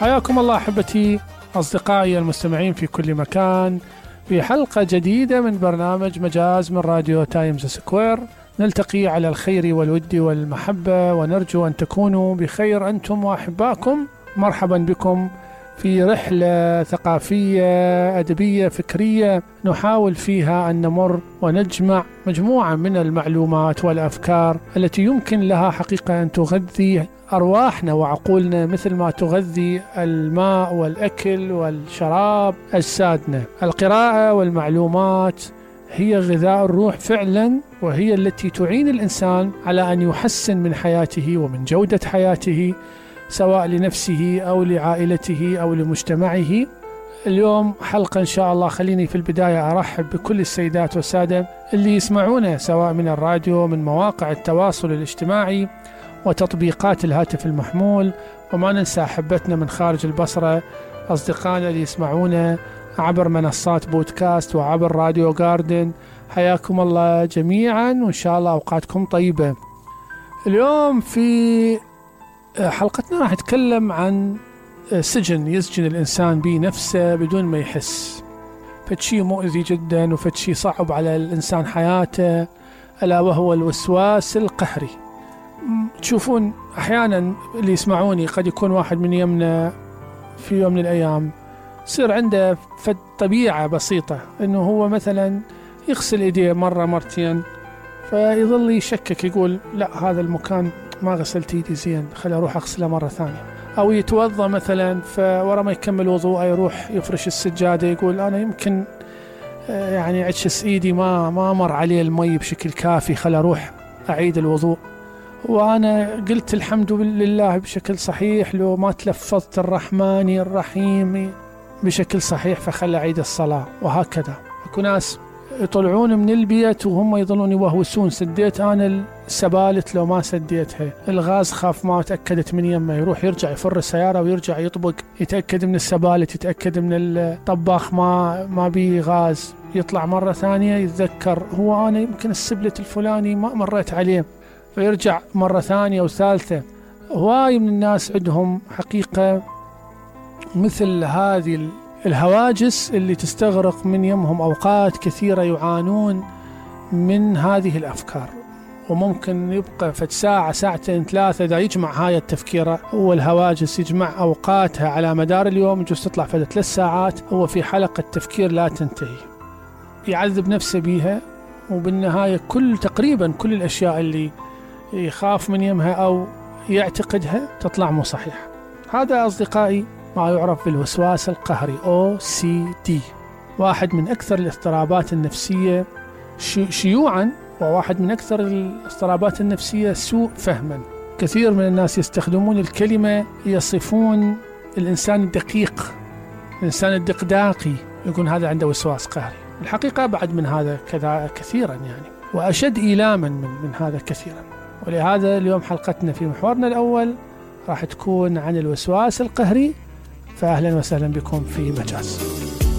حياكم الله أحبتي أصدقائي المستمعين في كل مكان في حلقة جديدة من برنامج مجاز من راديو تايمز سكوير. نلتقي على الخير والود والمحبة ونرجو أن تكونوا بخير أنتم وأحباكم. مرحبا بكم في رحلة ثقافية أدبية فكرية نحاول فيها أن نمر ونجمع مجموعة من المعلومات والأفكار التي يمكن لها حقيقة أن تغذي أرواحنا وعقولنا مثل ما تغذي الماء والأكل والشراب أجسادنا. القراءة والمعلومات هي غذاء الروح فعلا، وهي التي تعين الإنسان على أن يحسن من حياته ومن جودة حياته سواء لنفسه أو لعائلته أو لمجتمعه. اليوم حلقة إن شاء الله. خليني في البداية أرحب بكل السيدات والسادة اللي يسمعونا سواء من الراديو، من مواقع التواصل الاجتماعي وتطبيقات الهاتف المحمول، وما ننسى أحبتنا من خارج البصرة، أصدقائنا اللي يسمعونا عبر منصات بودكاست وعبر راديو جاردن. حياكم الله جميعا وإن شاء الله أوقاتكم طيبة. اليوم في حلقتنا راح نتكلم عن سجن يسجن الإنسان به نفسه بدون ما يحس، فشي مؤذي جدا وفشي صعب على الإنسان حياته، ألا وهو الوسواس القهري. تشوفون أحيانا اللي يسمعوني قد يكون واحد من يمنا في يوم من الأيام يصير عنده طبيعة بسيطة إنه هو مثلا يغسل إيديه مرة مرتين، فيظل يشكك يقول لا هذا المكان ما غسلت ايدي زين، خلي اروح اغسله مرة ثانية. او يتوضا مثلا فورا ما يكمل وضوءه يروح يفرش السجادة يقول انا يمكن يعني عجز ايدي ما مر عليه المي بشكل كافي، خلي اروح اعيد الوضوء. وانا قلت الحمد لله بشكل صحيح لو ما تلفظت الرحمن الرحيم بشكل صحيح فخلي اعيد الصلاة. وهكذا اكو ناس يطلعون من البيت وهم يظلون يوهوسون سديت أنا السبالت لو ما سديتها، الغاز خاف ما تأكدت من يمه، يروح يرجع يفر السيارة ويرجع يطبق يتأكد من السبالت، يتأكد من الطباخ ما بيه غاز، يطلع مرة ثانية يتذكر هو أنا يمكن السبلت الفلاني ما مريت عليه، فيرجع مرة ثانية وثالثة. هواي من الناس عندهم حقيقة مثل هذه الهواجس اللي تستغرق من يمهم أوقات كثيرة، يعانون من هذه الأفكار، وممكن يبقى فد ساعة ساعتين ثلاثة إذا يجمع هاي التفكير والهواجس يجمع أوقاتها على مدار اليوم يجوز تطلع فد 3 ساعات هو في حلقة تفكير لا تنتهي، يعذب نفسه بيها، وبالنهاية تقريبا كل الأشياء اللي يخاف من يمها أو يعتقدها تطلع مو صحيحة. هذا أصدقائي ما يعرف بالوسواس القهري OCD، واحد من أكثر الاضطرابات النفسية شيوعا، وواحد من أكثر الاضطرابات النفسية سوء فهما. كثير من الناس يستخدمون الكلمة يصفون الإنسان الدقيق، الإنسان الدقداقي، يقول هذا عنده وسواس قهري. الحقيقة بعد من هذا كذا كثيرا يعني، وأشد إيلاما من هذا كثيرا. ولهذا اليوم حلقتنا في محورنا الأول راح تكون عن الوسواس القهري، فأهلا وسهلا بكم في مجاز.